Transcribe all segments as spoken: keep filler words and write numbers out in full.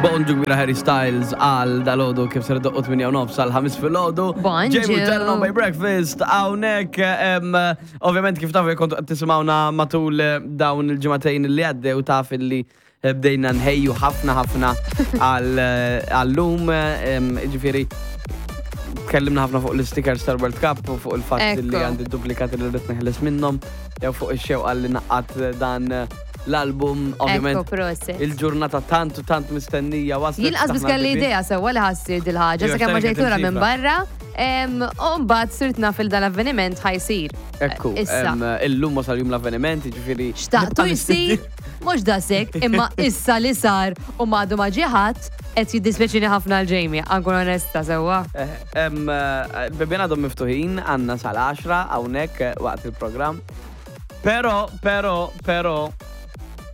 Bonġu kbira, Harry Styles, għal dalgħodu kif ser iddoqq tmienja u nofs għal ħames filgħodu. Bonġu. Jamie Terno by Breakfast, hawnhekk, ovvjament kif tafu kontu tisimgħuna matul eh, dawn il-ġimagħtejn li għaddew, taf li eh, bdejna nħejju ħafna ħafna għal-lum, ġifieri tkellimna ħafna fuq l-stickers tal-World Cup u fuq il-fatt li Ekku. għandi duplikati li rrid neħles minnhom, jew fuq ix-xewqa li ngħaqqad dan l-album, ovvjament. Ekku, prosit. Il-ġurnata tant u tant mistennija waslet. Jien qas biss kelli idea sewwa li ħa ssir dil-ħaġa, Iva, sakemm ma x'tani ġejt lura kien minn barra. em, U mbagħad sirt naf il dal-avveniment ħa jsir. Ekku, Issa. em, illum wasal jum l-avveniment, ġifieri. Xtaqtu nibqa' jsir, mhux daqshekk, imma issa li sar u m'għadu ma ġie ħadd, qed jiddispjaċini ħafna għal Jamie, ħa nkun onesta sewwa. Eh, em, eh, Bibien għadhom miftuħin, għandna sal-għaxra hawnhekk eh, waqt il-programm. Pero, pero, pero,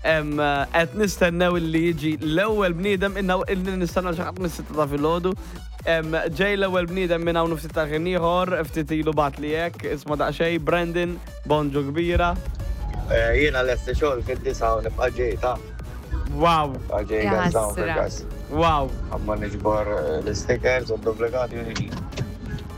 em, eh, qed nistennew li jiġi l-ewwel bniedem, inna illi nistennew xi ħadd mis-sitta ta' filgħodu. Em, Ġej l-ewwel bniedem minn hawn ftit ta' ħin ieħor, ftit ilu bagħat li hekk, isma' daqsxejn, Brandon, bonġu kbira. Eh, Jiena lesti xogħol fid-disgħa u nibqa' ġej ta' Wow, nibqa' ġej Ja gas down ħasra. fil-gas. wow. Amma niġbor eh, l-stickers u duplikati u niġi.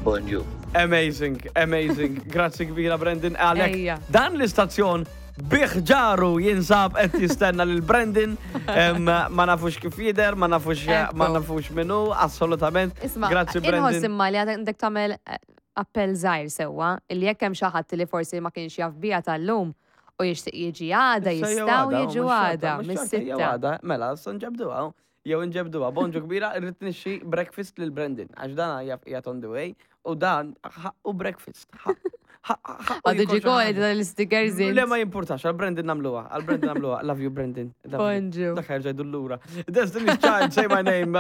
Bonġu. Amazing, amazing. Grazzi kbira, Brandon. Għalek, Ejja. dan l-istazzjon biħġaru jinsab qed jistenna lil Brandon. Em, Ma nafux kif jidher, ma nafux ma Ekku. nafux minnu, assolutament. Isma, Grazzi, inħoss Brandon. imma li għandek tagħmel eh, appell żgħir sewwa, illi jekk hemm xi ħadd li forsi ma kienx jaf biha tal-lum u jixtieq jiġi għada, Issa jew jistgħu għada, jiġu mhux xorta, għada, mhux xorta, jew mis-sitta. għada. Mela, issa nġebduha. Jew nġebduha. Bonġu kbira, irrid nixxi breakfast lil Brandon. Għax dan jaf qiegħed on the way u dan ħaqqu breakfast. Għadu ġi koli tal-stickers. Le, ma jimpurtax, għal Brandon nagħmluha, għal Brandon nagħmluha. Love you, Brandon. Love you. Bonġu. Dak ħa jerġa' jdur lura. Destiny's Child, Say My Name.